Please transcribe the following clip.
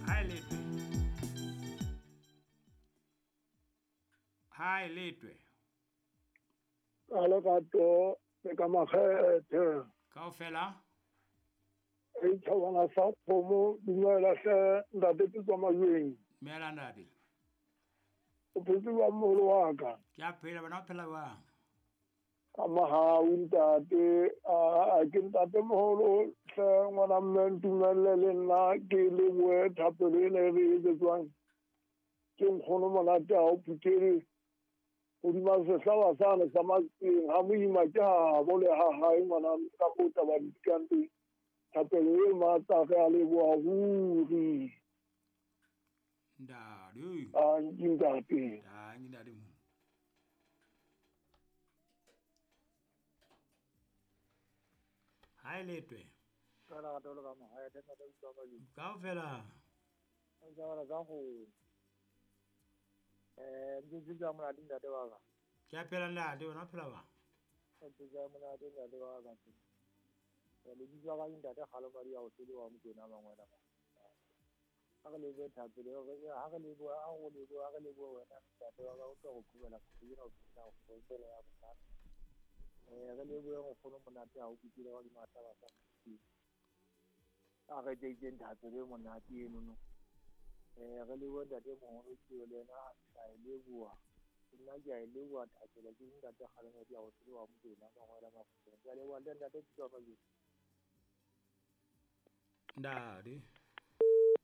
Hi Letwe. Hi Letwe. Ka lerato le ka makgethe. Kaofela. E tjhabana sa kgomo dumela hle ntate ke tswa Majweng. Dumela ntate. O phetse jwang moholo wa ka? Ke a phela, wena o phela jwang? Ka mohau ntate, a ke ntate moholo hle ngwana mme ntumelle le nna ke lebohe thapelo ena e re etsetswang ke nkgono monate ha o phuthele hodima sehlaba sane sa Matseng ha moima ke habo le ha hae ngwana ka moo taba di dikang teng. Thapelo e matla re a leboha ruri. Ntate. Tanki ntate. Tanki ntate. Hi Letwe. Ka lerato le ka makgethe ntate ke tswa Majweng. Kaofela. Ntse tsa monate ntate wa ka. Ke a phela ntate, wena o phela jwang? Ntse tsa monate ntate wa ka. Lebitso la ka ke ntate Kgalomadi ya ho sele wa Mokwena Mangwena. Ha re lebohe thapelo, ha re lebohe, ha re lebohe, ha re lebohe wena ntate wa ka o tlo go khubela kgwedi ena o phela go founela ya bohlano. Re lebohe nkgono monate ha o kutlwile wa dimahlaba sa Modimo. A re tseitseng thapelo e monate enono. Re lebohe ntate moholo ke le yena a e leboha. Nna ke a e leboha thapelo ke ntate Kgalomadi ya ho sele wa Mokwena Mangwena Mafokeng. Ke a leboha le ntate Pitso Majweng. Ntate.